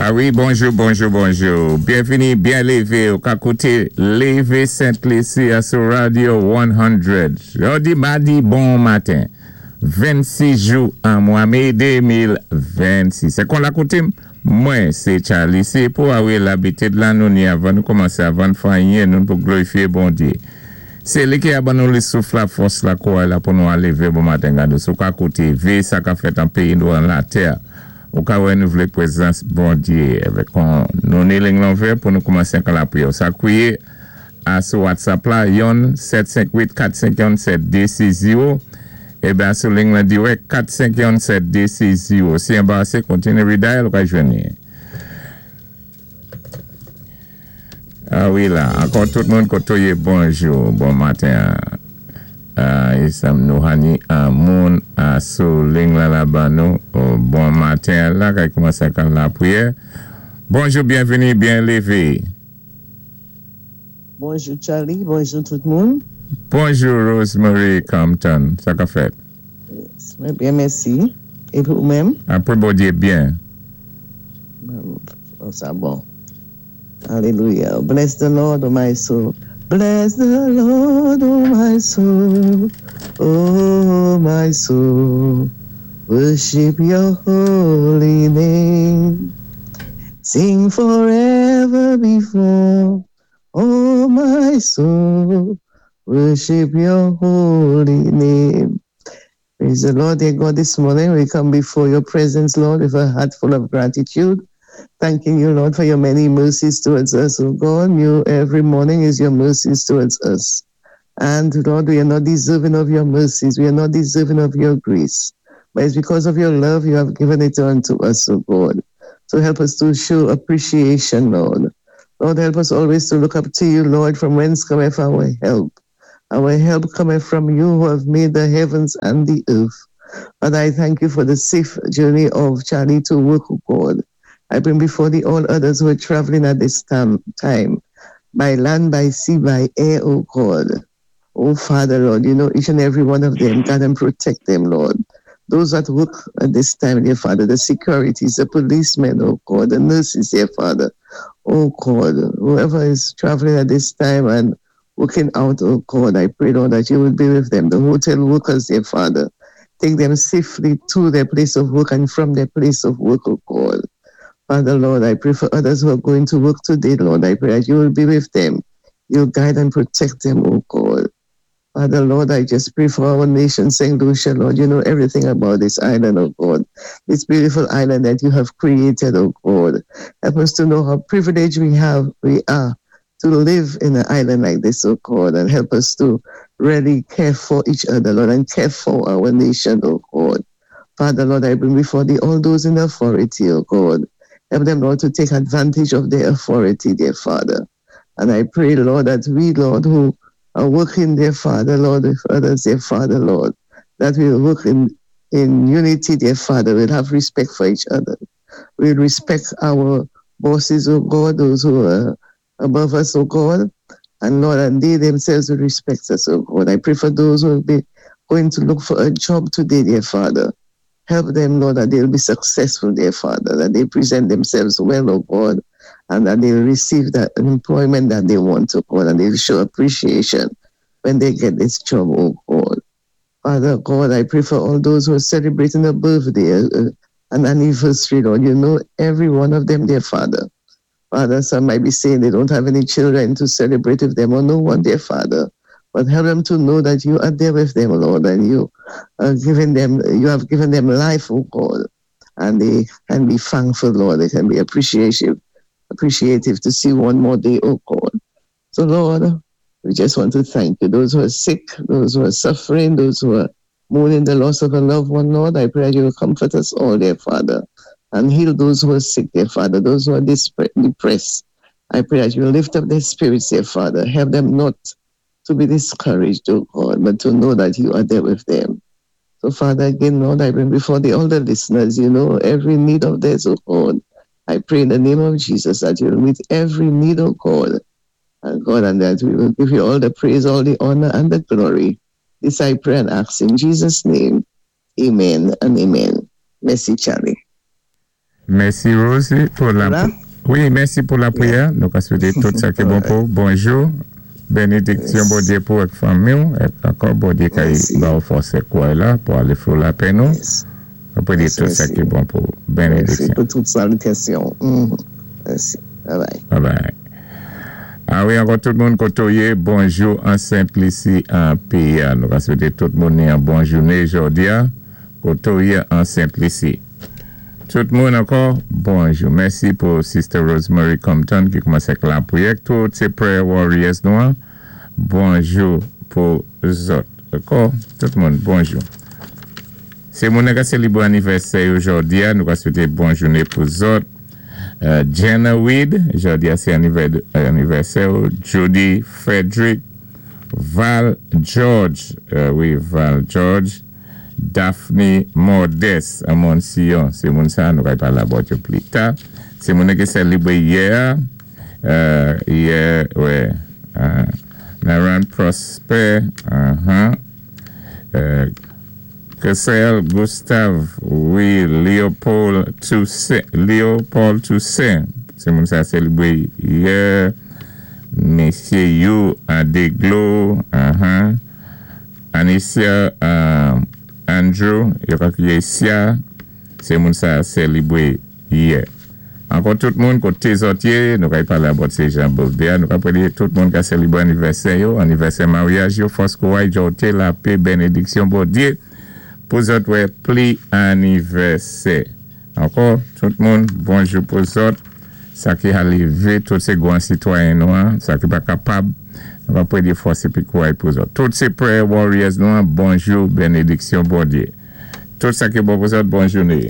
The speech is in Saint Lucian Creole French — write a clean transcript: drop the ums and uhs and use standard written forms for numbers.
A wi, bonjou, bonjou, bonjou. Byenvini, byen lévé. Ou ka kouté Lévé Sent Lisi a sou Radio 100. Jòdi madi bon maten. 26 jou an mwa mé 2026. Sé kon lakoutim, mwen sé Charlie. Sé pou a wi labitid la nou ni avan nou kòmansé avan fè anyen nou pou glorifié Bondyé. Sé li ki a ban nou li souf la fòs la kouray la pou nou al lévé bon maten gado. Sou ka kouté vé sa ka fèt an péyi nou an latè. Ou ka wè nou vlé pwézans Bondyé. Èvè kon nou ni ling lan ouvè pou nou kòmansé kan lapriyè. Ou sa kwiyé a sou WhatsApp la 1 758 451 7260 Eben sou ling lan dirèk 451 7260. Si anbarasé, kontiné redial ou ka jwenn ni. A wi la, ankò tout moun koto yé bonjou, bon maten. Isam Nouhani an moun a sou ling lan la ban nou. Bon maten la, kay kòmansé kan lapriyè. Bonjou, byenvini, byen lévé. Bonjou Charlie, bonjou tout moun. Bonjou Rosemary Compton, sa ka fèt? Mwen byen, mèsi. Épi ou menm? Apwé Bondyé byen. Sa bon. Alelouya. Bless the Lord, oh my soul. Bless the Lord, oh my soul. Oh my soul. Worship your holy name. Sing forever before. Oh my soul. Worship your holy name. Praise the Lord, dear God, this morning we come before your presence, Lord, with a heart full of gratitude. Thanking you, Lord, for your many mercies towards us, oh God. New every morning is your mercies towards us. And Lord, we are not deserving of your mercies. We are not deserving of your grace. But it's because of your love you have given it unto us, oh God. So help us to show appreciation, Lord. Lord, help us always to look up to you, Lord, from whence cometh our help. Our help cometh from you who have made the heavens and the earth. Father, I thank you for the safe journey of Charlie to work, O God. I bring before thee all others who are traveling at this time, by land, by sea, by air, O God. Oh, Father, Lord, you know each and every one of them. Guide and protect them, Lord. Those that work at this time, dear Father, the securities, the policemen, oh God, the nurses, dear Father, oh God, whoever is traveling at this time and working out, oh God, I pray, Lord, that you will be with them. The hotel workers, dear Father, take them safely to their place of work and from their place of work, oh God. Father, Lord, I pray for others who are going to work today, Lord. I pray that you will be with them. You'll guide and protect them, oh God. Father, Lord, I just pray for our nation, St. Lucia, Lord. You know everything about this island, oh God. This beautiful island that you have created, oh God. Help us to know how privileged we are to live in an island like this, oh God, and help us to really care for each other, Lord, and care for our nation, oh God. Father, Lord, I bring before thee all those in authority, oh God. Help them, Lord, to take advantage of their authority, dear Father. And I pray, Lord, that we, Lord, who are working, dear Father, Lord, with others, dear Father, Lord, that we will work in unity, dear Father. We'll have respect for each other. We'll respect our bosses, oh God, those who are above us, oh God. And Lord, and they themselves will respect us, oh God. I pray for those who will be going to look for a job today, dear Father. Help them, Lord, that they'll be successful, dear Father, that they present themselves well, oh God, and that they'll receive that employment that they want, oh God, and they'll show appreciation when they get this job, oh God. Father God, I pray for all those who are celebrating a birthday, an anniversary, Lord. You know every one of them, dear Father. Father, some might be saying they don't have any children to celebrate with them or no one, dear Father. But help them to know that you are there with them, Lord, and you are giving them, you have given them life, oh God. And they can be thankful, Lord. They can be appreciative to see one more day, oh God. So, Lord, we just want to thank you. Those who are sick, those who are suffering, those who are mourning the loss of a loved one, Lord, I pray that you will comfort us all, dear Father, and heal those who are sick, dear Father, those who are depressed. I pray that you will lift up their spirits, dear Father. Help them not to be discouraged, oh God, but to know that you are there with them. So, Father, again, Lord, I bring before the all the listeners, you know, every need of theirs, oh God. I pray in the name of Jesus that you will meet every need, oh God, and God, and that we will give you all the praise, all the honor, and the glory. This I pray and ask in Jesus' name. Amen and amen. Mèsi, Charlie. Mèsi, Rosie, pou la La? Wi, mèsi pou lapriyè. Nou ka swété tout sa ki bon pou. Bonjou. Bénédiksyon Bondyé pou ak fanmi é ankò Bondyé ka Mèsi. Ba ou fòs é kouray la pou alé fè lapè nou. Apwé di Mèsi, tout sa mèsi. Ki bon pou. Mèsi Bénédiksyon. Pou tout salitasyon. Mèsi. Bye bye. Bye bye. A wi, ankò tout moun koté ou yé, bonjou an Sent-Lisi an péyi. Nou ka swété tout moun ni yon bon jouné jòdi a, koté ou yé an Sent-Lisi. Tout moun ankò, bonjou. Mèsi pou Sister Rosemary Compton ki koumansé ak lapriyè. Tout sé prayer warriors nou. Hein. Bonjou pou zòt. Ankò, tout moun, bonjou. Sé moun ki sélébwé anivèsè jòdi a, nou ka swété bon jouné pou zòt. Jenna Weed, jòdi a sé anivèsè. Judy Frederick, Val George, wi, Val George, Daphne Mordes, Amon Sion, sé moun sa, nou ka palé about yo pli ta. Sé moun ki sélébwé yè, yè, wè, Naran Prosper, Kessel Gustave, wi, Léopold Toussaint, Léopold Toussaint, sé moun sa sélébwé yè, Mesye You Adeglo, Anicia Andrew, yo ka kwiyé Sia, sé moun sa sélébwé yè. Ankò tout moun koté zòt yé, nou ka palé about sé jan birthday, nou ka pwédé tout moun ka sélébwé anivèsè yo, anivèsè maryaj yo, fòs kouray, jòté, lapè, bénédiksyon Bondyé, pou zòt wè pli anivèsè. Ankò, tout moun, bonjou pou zòt, sa ki a lévé, tout sé gwan sitwayen nou, hein, sa ki pa kapab, nou va pwédé fòs épi kouray pou zòt. Tout sé prayer warriors nou, hein, bonjou, bénédiksyon Bondyé. Tout sa ki bon pou zòt, bon jouné.